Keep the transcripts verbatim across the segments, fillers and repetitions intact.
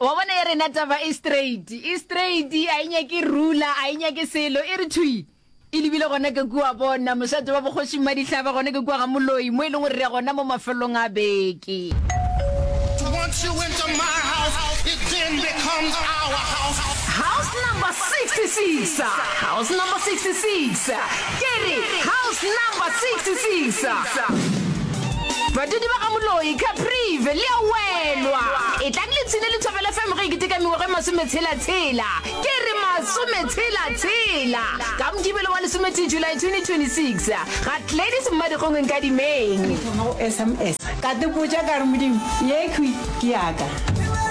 Wa bona ya rena taba e straight, e straight, a e nyake rula, a e nyake selo, e re thwi e lebile gona ke kua bona mošate wa boKgoši Mmadihlaba gona ke kua ga Moloi mo e leng gore re ya gona mo mafelong a beke. Once you enter my house, it then becomes our house. House number sixty six, house number sixty six, ke re house number sixty six. Badudi ba ga Moloi, Caprive, le a welwa. E tlang le tshine le Thobela F M ge e keteka mengwaga e masometshela-tshela, ke re masometshela-tshela, ka Mokibelo wa lesometee July twenty twenty-six ga Gladys Mmadikgong Nkadimeng. Thoma go S M S ka tepotša ka re, Modimo, yekhwi ke yaka.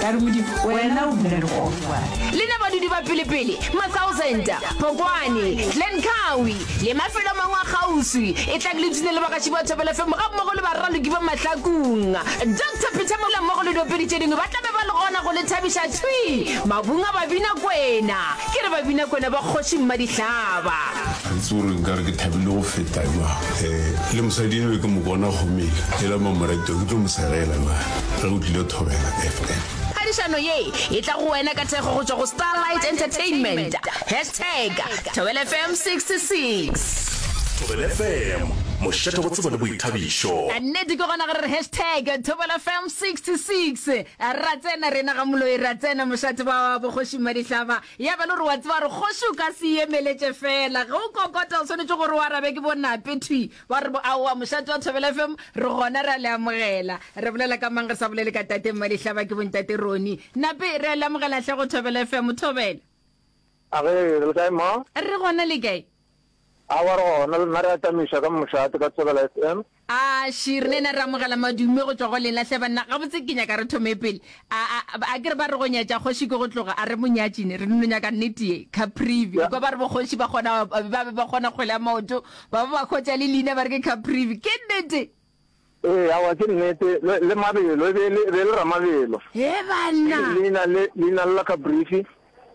Ka re, Modimo, wena o dula legodingwane. Lena badudi ba pelepele, Ma-Thousand, Phokwane, Glencoe le mafelo a mangwe a kgauswi, e tlang le ipshine le bagaši ba Thobela F M gammogo le baraloki ba Mahlakung. Doctor Peter Mola mmogo le diopedi tše dingwe ba tla be ba le gona go le thabiša thwi mabung a Babina Kwena. Ke re Babina Kwena ba Kgoši Mmadihlaba. Ga ke tsebe gore nkare ke thabile go feta jwang. um le mosadi eno ke mo bona gomele e la mamorato, ke tlo mo segela jwang ge o tlile Thobela F M. Phadišano ye e tla go wena ka thekgo go tšwa go Starlight Entertainment. Hashtag Thobela F M sixty-six. Thobela F M, mošate wa tsebo le boithabišo. Nnete ke gona gore re hashtag Thobela F M sixty-six. Ra tsena rena ga Moloi, ra tsena mošate wa boKgoši Mmadihlaba. Ya ba le gore wa tseba gore kgoši o ka se emeletše fela ge o kokota, o swanetše gore o arabe ke bonape thwi ba re bo aowa. Mošate wa Thobela F M, re gona, re a le amogela. Re bolela ka mang re sa bolele ka tate Mmadihlaba? Ke bontate Roni Nape, re a le amogela hle go Thobela F M. Thobela. A ge re le kae, ma? Re gona, le kae? Awa, re gona le nna, re atamiša ka mošate ka Thobela F M. A shi, re nena re amogela madume go tšwa go lena hle banna. Gabotse ke nyaka re thome pele. A a a ke re ba re go nyatša kgoši ke go tloga, a re monyatšine, re no nyaka nnete ye. Caprivi. Ya. Kwa ba re bokgoši ba kgona ba be ba kgona kgwele ya maoto, ba ba ba hwetša le leina ba re ke Caprivi. Ke nnete? Ee, awa, ke nnete. Le, le mabelo e be le, e be le ramabelo. He banna. Leina le, leina le la Caprivi,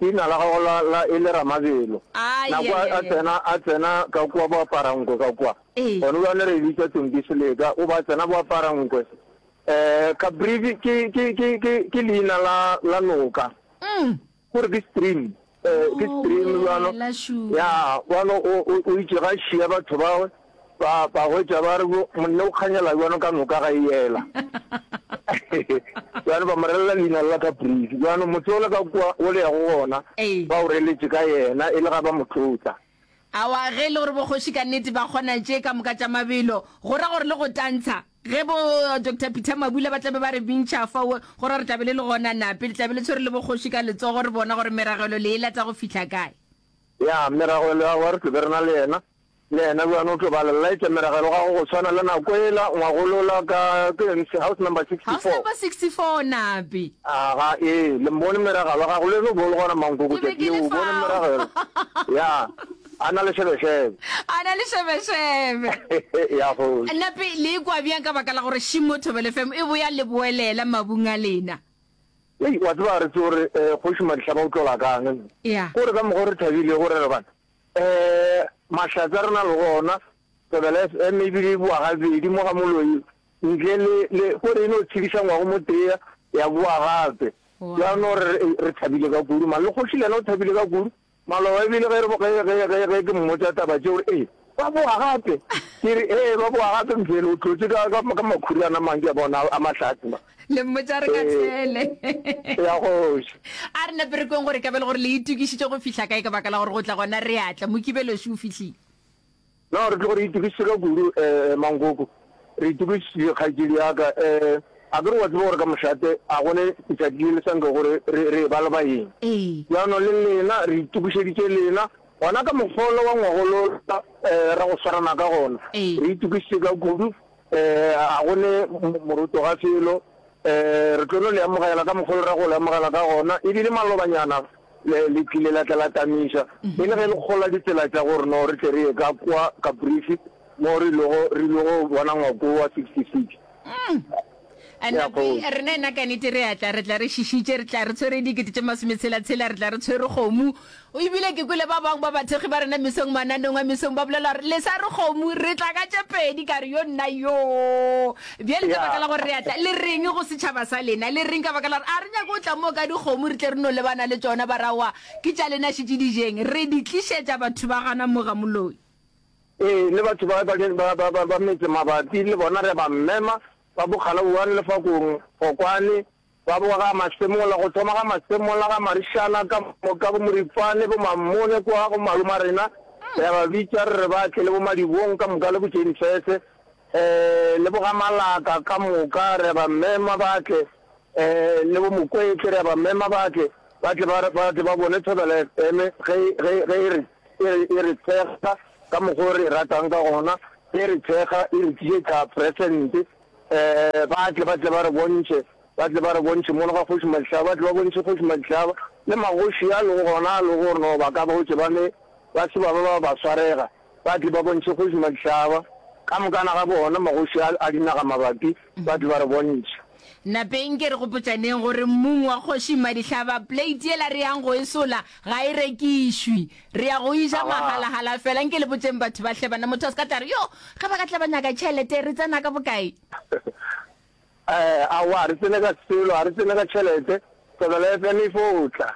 leina la gago la, la e le ramabelo. Ai Nako ai a, a ai. tsena, a tsena ka kua boaparankwe ka kua. Ee. Gone bjale re e bitša Tonki Seleka, o ba tsena boaparankwe. Eh, Caprivi ke, ke, ke, ke, ke leina la, la noka. Mm. Gore ke stream. Eh, ke Oh, stream bjalo. wela shu. Ya, bjalo o, o, o itše ga šia batho ba ba ba hwetša ba re bo monne o kganyela bjalo ka noka ga e ela. Bjalo ba mo relela leina la Caprivi. Bjalo motse ole ka kua o le yago gona Ee. ba o reletše ka yena e le ga ba mo tlotla. Awa, ge e le gore bokgoši ka nnete ba kgona tše ka moka tša mabelo, go ra gore le go tantsha, ge bo Doctor Peter Mabula ba tla be ba re bintšha fao, go ra gore tla be le le gona nape, le tla be le tshwere le bokgoši ka letsogo, re bona gore meragelo le e lata go fihla kae. Ya, meragelo ya gagwe re tlo be re na le yena, le yena bjano o tlo ba le laetša meragelo gago go tshwana le nako ela ngwagolola ka ke eng, house number House sixty-four. number sixty-four nape. Aga, ee, le mbone meragelo ya gago, le eno o be o le gona Mankoko Ke be tšatši ke leo, le o bone fao. meragelo, ya, a na le šebešebe. A na le šebešebe. Ya kgoši. Nape le ikwa bjang ka baka la gore Šimo Thobela F M e boya le boelela mabung a lena? Hei, wa tseba re tsebe gore eh, Kgoši Madihlaba o tlola kang. Ya. Kore ka mokgwa o re thabilego re re bana, eh, mahlatse a re na le gona, Thobela F M ebile e boa gabedi mo ga Moloi, ntle le, le, kore e no tshediša ngwago mo tee ya boa gape. Wow. Bjano re, re thabile ka kudu, man. Le kgoši le yena o thabile ka kudu. Maloba ebile ge re, ge, ge, ge, ge ke mmotša taba tše, o re, Ee, ba boa gape. Ke re, Ee, ba boa gape, Mfele, o tlotše ka, ka, ka makhura a mang ke a bona a mahlatse ma. Le mmotša re ka Ee, tshele. ya kgoši. A re nape re kweng gore ka be le gore le itokišitše go fihla kae ka baka la gore go tla gona re a tla. Mokibeloši o fihlile. No, re tlogo re itokišitše ka kudu, eh, Mankoko. Re itokišitše, kgaetšedi ya ka. Eh, a ke re wa tseba gore ka mošate a go ne letšatši le le sa nkego re, re, re eba le baeng. Ee. Bjano le lena, re itokišeditše lena. Gona ka mokgwa wa ngwagolola, eh, ra go swarana ka gona. Ee. Re itokišitše ka kudu. Eh, a go ne moroto ga felo. Eh, re tlo no le amogela ka mokgwa ra go le amogela ka gona. Ebile malobanyana le, le tlile la tla la tamiša. E le ge le kgola ditsela tša gore no re tle re ye ka kwa Caprivi mo re ilogo, re ilogo bona ngwako wa sixty-six. Mm. Ya, Nape, kgoši. rena ena ka nete re a tla, re tla re šišitše, re tla re tshwere dikete tše masometshela-tshela, re tla re tshwere kgomo. Ebile ke kwele ba bangwe ba bathekgi ba rena mesong mananeong a mesong ba bolela gore le sa re kgomo, re tla ka tše pedi, ka re yo nna yoo. Bjale ka baka la gore re a tla, le reng go setšhaba sa lena? Le reng ka baka la gore a re nyake go tla moo ka dikgomo re tle re no lebana le tšona, ba re aowa ke tša lena šetše di jeng, re di tlišetša batho ba gana mo ga moloi. Ee, le batho ba ba ba ba ba ba metse mabapi le bona re ba mema, ba bo Kgalauane, Lefakong, Phokwane, ba bo ga Masemola, go thoma ga Masemola, ga Marišana, ka moka, bo Moripane, bo Mamone, kwa go maloma rena, re a ba bitša re re ba tle, le bo Madibong ka moka, le bo Jane-Fese, um le bo ga Malaka ka moka, re a ba mema ba tle, um le bo Mokwetle, re a ba mema ba tle, ba tle ba, ba tle ba bone Thobela F M ge, ge, ge e re, e re, e re thekga ka mokgwa o re e ratang ka gona, ge e re thekga e re tlišetša present, um ba tle, ba tle ba re bontšhe, ba tle ba re bontšhe mono ga Kgoši Madihlaba, ba tle ba bontšhe Kgoši Madihlaba le magoši a lego gona, a lego gore no ba ka ba hwetše ba ne ba se ba ba ba ba swarega, ba tle ba bontšhe Kgoši Madihlaba ka mokana ga bona, magoši a, a dinaga mabapi, ba tle ba re bontšhe. Napeng ke re gopotšaneng gore mmung wa Kgoši Madihlaba, plate yela re yang go e sola ga e rekišwe. Re ya go e ja mahala-hala fela. Nke le botšeng batho ba hle bana, motho a se ka tla re, Yo, ge ba ka tla ba nyaka tšhelete, re tsena ka bokae? Eh, aowa, ga re tsene ka selo, ga re tsene ka tšhelete. Thobela F M e fo tla,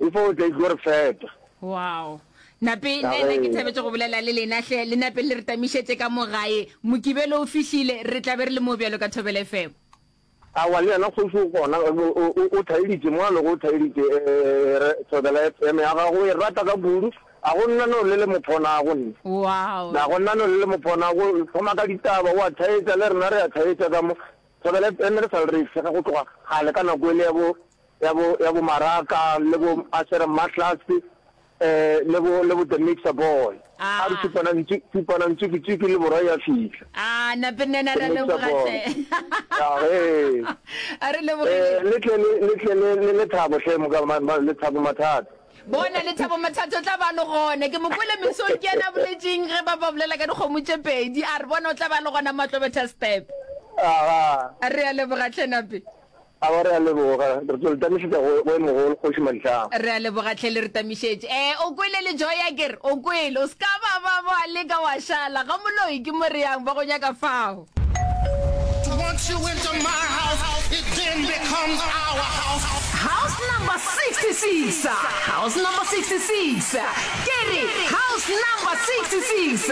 e fo tla e tlo re fepa. Wow. Nape, nna ena ke thabetše go bolela le lena hle, le nape le re tamišetše ka mo gae. Mokibelo o fihlile, re tla be re le mo bjalo ka Thobela F M. Aowa, le yena kgoši o gona, o, o, o thaeditše mo a lego, o thaeditše, eh, re, Thobela F M ya gago o e rata ka kudu. A go nna no le le mo phonago nna. Wow. Na go nna no le le mo phonago, thoma ka ditaba, o a thaetša, le rena re a thaetša ka mo. Thobela F M re sa le re e sega go tloga kgale ka nako ele ya bo, ya bo, ya bo Maraka le bo Asher Mahlase, eh, le bo, le bo The Mixer Boy. A re Ah. tšupana ntsu, tšupana ntsuki-tsuki le borwa ya fihla. Ah, nape nna The ra Mixer leboga Boy. hle. Ya, ee. A re Eh, lebogile. le tle le, le tle le, le Lethabo hle, moka, ma, ma, Lethabo Mathata. Bona, Lethabo Mathata o tla ba le gona. Ke mo kwele mesong ke yena a boletšeng ge ba ba bolela ka dikgomo tše pedi. A re bona o tla ba le gona Matlobetha Step. Aga. A re a leboga hle Nape. Aowa re a leboga. Re tlo le tamišetša go, go e mogolo, Kgoši Madihlaba. Re a leboga hle le re tamišetše. Eh, o kwele le Joy a ke re, o kwele. O se ka ba ba ba leka wa šala. Ga moloi ke mo re yang, ba go nyaka fao. Once you enter my house, it then becomes our house. House number sixty-six, house number sixty-six, ke re house number sixty-six.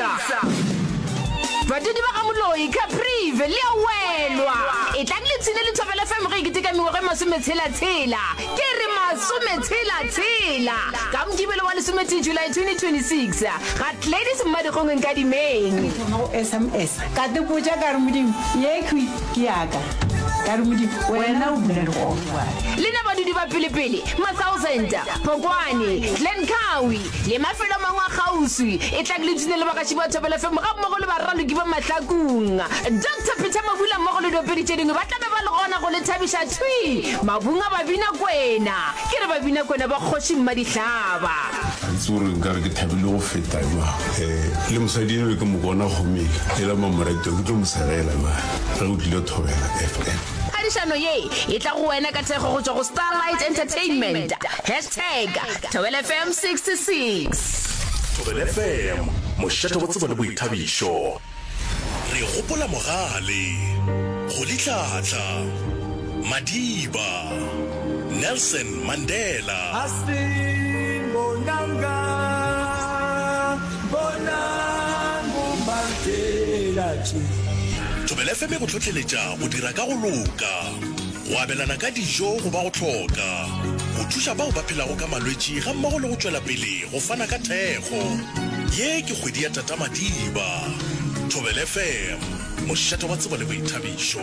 Badudi ba ga Moloi, Caprivi, le a welwa. Etlang le ipshine le Thobela F M ge e keteka mengwaga e masometshela-tshela. Ke re masometshela-tshela. Ka Mokibelo wa lesometee July twenty twenty-six, ga Gladys Mmadikgong Nkadimeng. Ke thoma go S M S ka te potša ka re Modimo ye khwi ke ya ka, ka re Modimo wena o dula le gona. Lena badudi ba pelepele, Mathousand, Phokwane, Glencoe le mafelo a mangwe a kgauswi, etlang le ipshine le bagaši ba Thobela F M gammogo le baraloki ba Mahlakung. Doctor Peter Mabula mmogo le diopedi tše dingwe ba tla be ba le gona go le thabiša thwi mabung a Babinakwena. Ke re Babinakwena ba Kgoši Mmadihlaba. Ga ke tsebe gore nka re ke thabile go feta jwang. Eh, le mosadi eno ke mo bona gomele, e la mamoratio, ke tlo mo segela jwang ge o tlile Thobela F M. Phadišano ye e tla go wena ka thekgo go tšwa go Starlight Entertainment. Hashtag Thobela F M sixty-six. Thobela F M, mošate wa tsebo le boithabišo. Re gopola Mogale, Rolihlahla, Madiba, Nelson Mandela. Thobela F M e go hlohleletša go dira ka go loka, go abelana ka dijo go ba go hloka, go thuša bao ba phelago ka malwetši gammogo le go tšwela pele go fana ka thekgo. Ye ke kgwedi ya Tata Madiba. Thobela F M, mošate wa tsebo le boithabišo.